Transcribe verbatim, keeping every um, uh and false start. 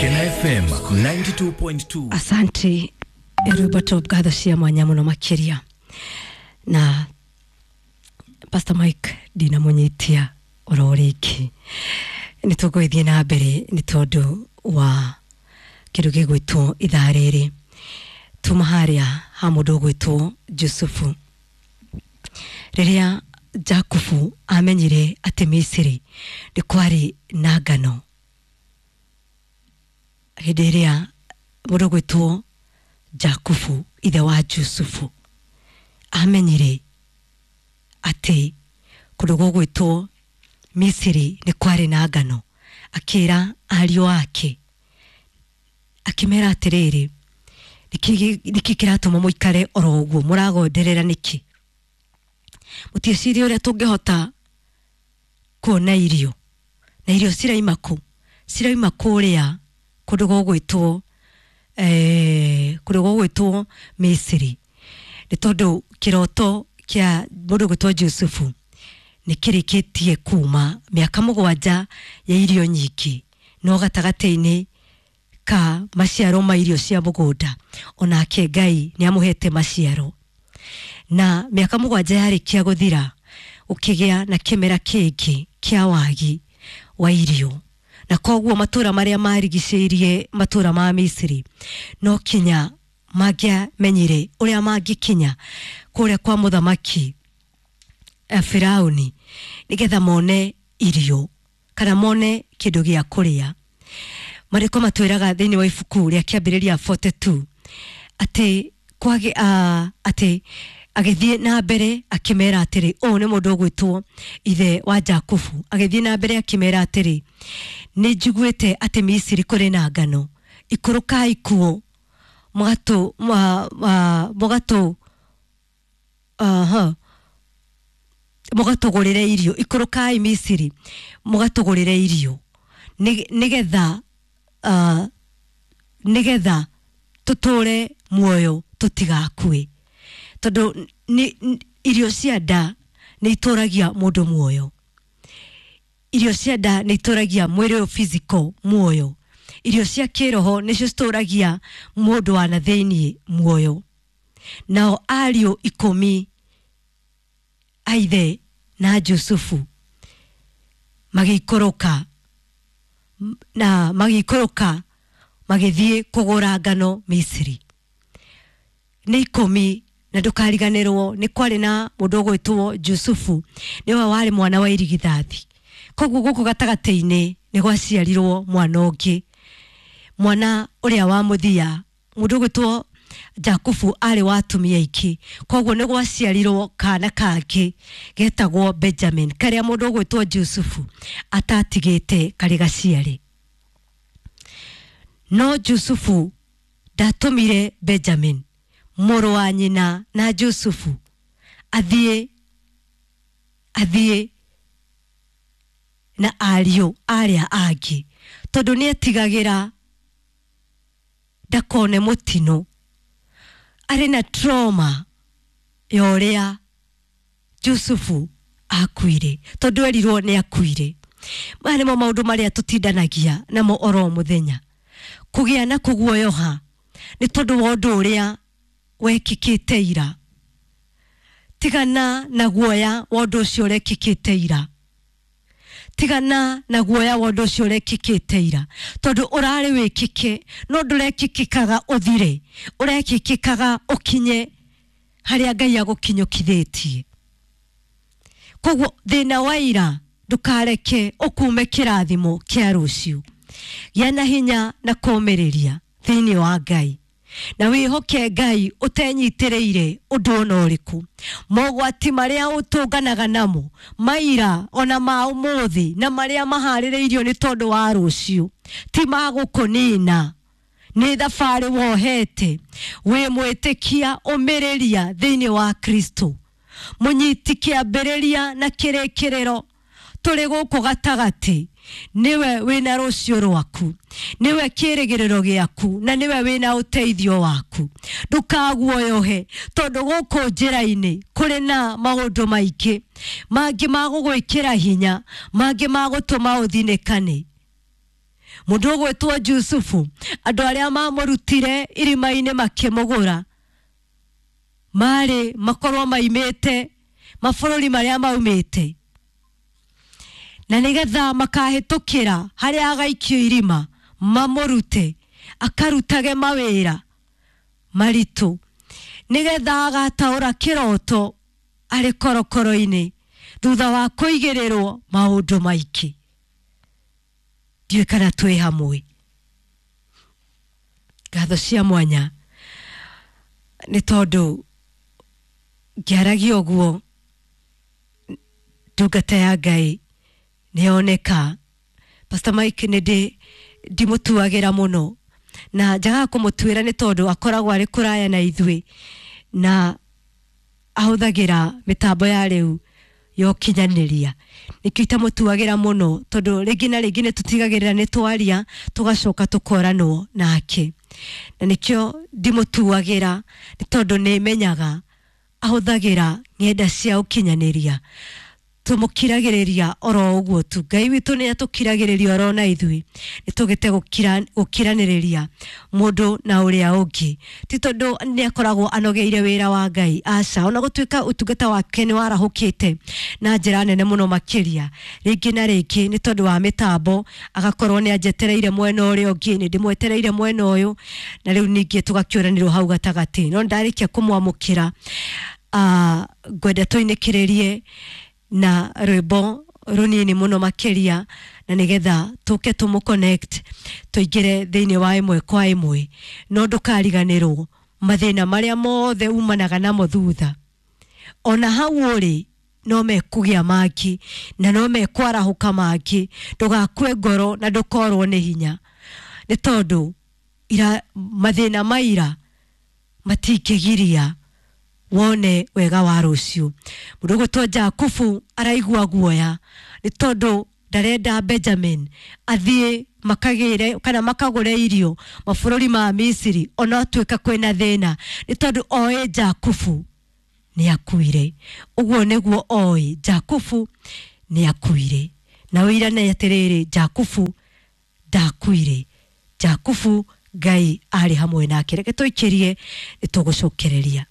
Kena F M ninety-two point two. Asante Robert ngatho cia mwanya muno makiria na Pastor Mike ndinamunyitia oro ringi ni tugwithie na mbere ni tondu wa kindu gigwitwo ithaa riri tuma haria ha mundu ugwitwo Jusufu. Riria Jakubu amenyire ati Misiri ni kwari na ngano, hindi iria mundu ugwitwo Jakubu ithe wa Jusufu amenyire ati kundu gugwitwo Misiri ni kwari na ngano, akira ariũ ake akimera atiriri, niki kiratuma muikare oro uguo muragonderera niki, mutiecirie uria tungihota kuona irio na irio ciraima ku ciraima kuria kundu gugwitwo eh kundu gugwitwo Misiri, ni tondu kiroto kia mundu gwitwo Jusufu ni kirikitie kuma miaka mugwanja ya irio nyingi no gatagati-ini ka maciaro ma irio cia mugunda, onake Ngai ni amuhete maciaro. Na miaka mugwanja yarikia guthira ukigia na kimera kingi kia wagi wa irio, na koguo matura maria marigicĩirie matura ma Misiri no kinya mangĩamenyire uria mangĩkinya kuria kwa muthamaki Firauni nigetha mone irio kana mone kindu gia kuria. Mariko matwiraga thiini wa ibuku ria Kiambiriria forty-two ati kwage uh, ati agithie na mbere akimera atiri, uyu ni mundu ugwitwo ithe wa Jakubu, agithie na mbere akimera atiri, ni njiguite ati Misiri kuri na ngano, ikurukai kuo mugatu mugatu aha mugatugurire irio, ikurukai Misiri mugatugurire irio nigetha uh, nigetha tuture muoyo tutigakue, tondu irio cia nda ni ituragia mundu muoyo, irio cia nda ni ituragia mwiri uyu physical muoyo, irio cia kiroho nicio cituragia mundu wa na thiini muoyo. Nao ariũ ikumi aithe na Jusufu magĩikũrũka na magĩikũrũka magĩthiĩ kũgũra ngano Misiri. Nĩ ikũmi, na ndũkariganĩrwo nĩ kwarĩ na mũndũ ũgwĩtwo Jusufu, nĩwe warĩ mwana wa irigithathi. Koguo gũkũ gatagatĩ-inĩ nĩ gwaciarirwo mwana ũngĩ, mwana ũrĩa wa mũthia, mũndũ ũgwĩtwo Jakubu arĩ wa atumia aingĩ, koguo nĩ gwaciarirwo kana kangĩ getagwo Benjamin, karĩa mũndũ ũgwĩtwo Jusufu atatigĩte karĩ gaciare. No Jusufu ndatũmire Benjamin mũrũ wa nyina na Jusufu athiĩ athiĩ na ariũ arĩa angĩ, tondũ nĩetigagĩra ndakone mũtino, arĩ na trauma ya ũrĩa Jusufu akuire, tondũ erirwo nĩ akuire. Maya nĩmo maũndũ marĩa tũtindanagia namo oro mũthenya, kũgĩa na kũguoyoha nĩ tondũ wa ũndũ ũrĩa wekĩkĩte ira. Tigana na guoya wa ũndũ ũcio ũrekĩkĩte ira, tigana na guoya wa ũndũ ũcio ũrekĩkĩte ira, tondũ ũrarĩ wĩkĩke no ndũrekĩkĩkaga ũthire, ũrekĩkĩkaga ũkinye harĩa Ngai agũkinyũkithĩtie. Koguo thĩna wa ira ndũkareke ũkume kĩrathimo kĩa rũciũ. Gĩa na hinya na kũũmĩrĩria thĩinĩ wa Ngai, na wĩhoke Ngai ũtenyitĩrĩire ũndũ ona ũrĩkũ. Mogwati marĩa ũtũnganaga namo maira ona ma ũmũthĩ na marĩa maharĩrĩirio nĩ tondũ wa rũciũ ti ma gũkũnina, nĩ thabarĩ wohete. Wĩ mwĩtĩkia, ũmĩrĩria thĩinĩ wa Kristo, mũnyiti kĩambĩrĩria na kĩrĩkĩrĩro. Tũrĩ gũkũ gatagatĩ, niwe wĩna rũciũ rwaku, niwe kĩrĩgĩrĩro gĩaku, na niwe wĩna ũteithio waku. Ndũkaguoyohe tondũ gũkũ njĩra-inĩ kũrĩ na maũndũ maingĩ mangĩ ma gũgwĩkĩra hinya, mangĩ ma gũtũma ũthinĩkane. Mundu ugwitwo Jusufu, andu aria mamurutire irima-ini makimugura mari makorwo maimite mabũrũri maria maumite, na nigetha makahitukira haria agaikio irima mamurute akarutage mawira maritu, nigetha agataura kiroto ari korokoro-ini thutha wa kuigirirwo maundu maingĩ. Ndiũĩ kana twĩ hamwe. Ngatho cia mwanya nĩ tondũ ngĩaragia ũguo ndungata ya Ngai nĩyoneka. Pastor Mike nĩ ndĩ ndimũtuagĩra mũno, na njagaga kũmũtuĩra nĩ tondũ akoragwo arĩ kũraya na ithuĩ na ahũthagĩra mĩtambo ya rĩu ya ũkinyanĩria, nĩkĩo itamũtuagĩra mũno, tondũ rĩngĩ na rĩngĩ nĩ tũtigagĩrĩra nĩ twaria tũgacoka tũkoranwo nake, na nĩkĩo ndimũtuagĩra nĩ tondũ nĩ menyaga ahũthagĩra ng'enda cia ũkinyanĩria. Tũmũkiragĩrĩria oro ũguo tu. Ngai witũ nĩ atũkiragĩrĩria oro na ithuĩ, nĩ tũgĩte gũkiranĩrĩria mũndũ na ũrĩa ũngĩ, ti tondũ nĩ akoragwo anogeire wĩra wa Ngai, aca. Ona gũtuĩka ũtungata wake nĩ warahũkĩte na njĩra nene mũno makĩria, rĩngĩ na rĩngĩ nĩ tondũ wa mĩtambo agakorwo nĩ anjetereire mwena ũrĩa ũngĩ, nĩ ndĩmwetereire mwena ũyũ, na rĩu ningĩ tũgakĩũranĩrwo hau gatagatĩ. No ndarĩkia kũmwamũkĩra, uh, ngwenda tũinĩkĩrĩrie na rwĩmbo rũnini mũno makĩria, na nĩgetha tũke tũmũ connect tũingĩre thĩinĩ wa ĩmwe kwa ĩmwe. No ndũkariganĩrwo mathĩna marĩa mothe umanaga namo thutha, ona hau ũrĩ no mekũgĩa mangĩ na no mekwarahũka mangĩ. Ndũgakue ngoro na ndũkorwo nĩ hinya, nĩ tondũ ira mathĩna maira matingĩgiria wone wega wa rũciũ. Mũndũ ũgwĩtwo Jakubu araigua guoya nĩ tondũ ndarenda Benjamin athiĩ makagĩre kana makagũre irio mabũrũri ma Misiri, ona atuĩka kwĩna thĩna, nĩ tondũ oĩ Jakubu nĩ akuire. Ũguo nĩguo oĩ Jakubu nĩ akuire, na ũirane atĩrĩrĩ, Jakubu ndakuire, Jakubu Ngai arĩ hamwe nake. Reke tũikĩrie, nĩ tũgũcokereria.